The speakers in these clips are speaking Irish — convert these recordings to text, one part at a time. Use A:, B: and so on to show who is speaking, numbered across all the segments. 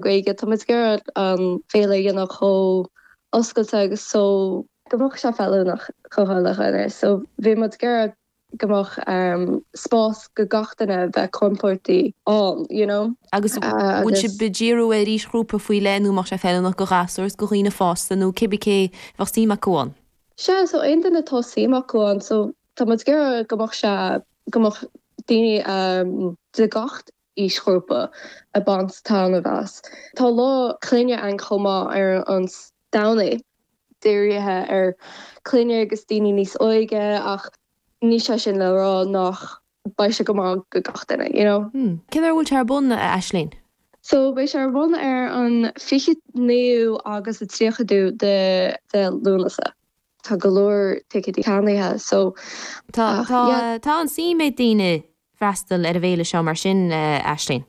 A: Gaeilge, tá muid ag iarraidh an féile a dhéanamh chomh oscailte agus so go mbeadh sé feiliúnach do chuile dhuine. So bhí muid ag iarraidh go mbeadh spás go gach duine a bheith compordach ann, you know.
B: Agus bhfuil sibh ag díriú ar aoisghrúpa faoi leith nó mbeadh sé feiliúnach go ghasúir is go dhaoine fásta nó cibé cé a bheadh suim acu ann?
A: Sea, so aon duine atá suim acu ann, so tá muid ag iarraidh go mbeadh sé, go mbeadh daoine de gach aoisghrúpa ag baint taitneamh as. Tá lá clainne ann chomh maith ar an Domhnach, dírithe ar clainne agus daoine níos óige ach níl sé sin le rá nach beidh sé go maith go gach duine, you know.
B: Cén uair a bhfuil sé ar bun, a Aisling?
A: So beidh sé ar bun ar an 29ú agus an 30ú de Lúnasa. Tá go leor ticéidí ceannaithe so
B: Tá, tá, tá an-suim ag daoine freastal ar an bhféile seo mar sin, a Aisling?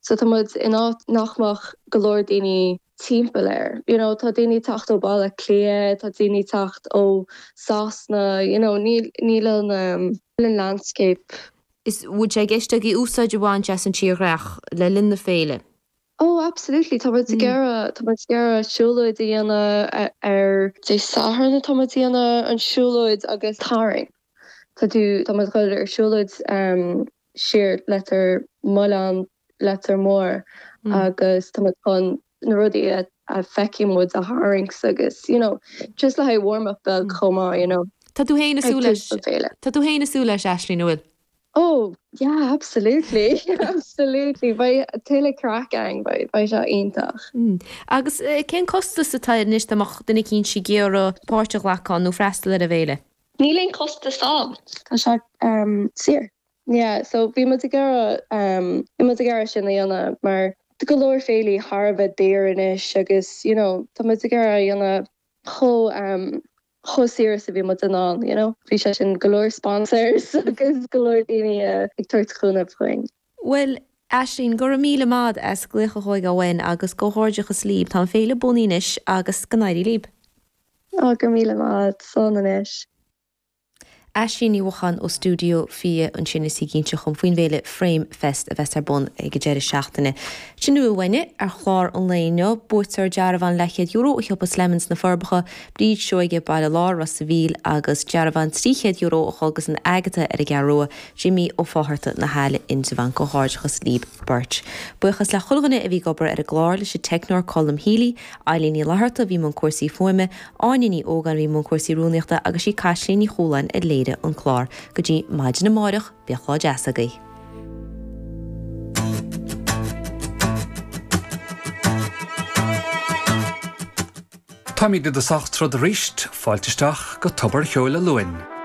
A: So tá muid in áit nach mbeadh go leor daoine timpeall air. You know, tá daoine ag teacht ó Baile Átha Cliath, tá daoine ag teacht ó Sasana, you know, níl, níl an, níl an landscape.
B: Is bhfuil sé i gceist agaibh úsáid a bhaint as an tírdhreach le linn na féile?
A: Oh absolutely, tá muid ag iarraidh, tá muid ag iarraidh siúlóid a dhéanamh ar Dé Sathairn atá muid ag déanamh an siúlóid agus tarraing. Tá tú, tá muid ag dul ar siúlóid siar Leitir Mealláin, Leitir Móir agus tá muid chun na rudaí a a feicfidh muid a tharraingt agus you know just le haghaidh warm up beag chomh maith you know.
B: Tá tú féin ag súil leis, tá tú féin ag súil leis Aisling, an bhfuil?
A: Oh yeah absolutely absolutely beidh tuilleadh craic ann beidh beidh sé iontach.
B: Agus cén costas atá air anois dá mbeadh duine eicínt ag iarraidh páirt a ghlacadh ann nó freastal ar an bhféile?
A: Níl aon chostas ann, tá sé saor. Yeah so bhí muid ag iarraidh bhí muid ag iarraidh sin a dhéanamh mar tá go leor féilí thar a bheith daor anois agus you know tá muid ag iarraidh a dhéanamh chomh chomh saor is a bhí muid in ann, you know. Bhí sé sin go leor sponsors agus go leor daoine ag tabhairt cúnamh chugainn.
B: Bhuel, Aisling, go raibh míle maith a't as glaoch a thógáil uainn agus comhghairdeachas líb. Tá an féile bunaithe anois agus go n-éirí líb.
A: Á, go raibh míle maith a't. Slán anois.
B: Aisling Ní Mhocháin ó Stiúideo 20 ansin is í ag inse dhom faoin bhféile Frame Fest a bheas ar bun ag an deireadh seachtaine. Sin a bhfuil uainne ar chlár an lae inniu. Buaiteoir dearbhán leathchéad euro ó shiopa Slemons na Forbacha, Bríd Seoige, Baile Láir, Ros a' Mhíl agus dearbhán €300 a dhul go San Agatha ar an gCeathrú Rua, Jimí Ó Fátharta, Na hAille, Indreabhán. Comhghairdeachas líb beirt. Buíochas le chuile dhuine a bhí ag obair ar an gclár, leis an teicneoir Colm Healy, Eileen Ní Fhlatharta a bhí i mbun cúrsaí fuaime, Áine Ní Ógáin a bhí i mbun cúrsaí rúnaíochta agus sí Caitlín Ní Chualáin a léirigh an clár. Go dtí maidin amáireach, bíodh lá deas agaibh.
C: Táimid i dtosach troda arís, fáilte isteach go Tobar Cheoil a' Luain.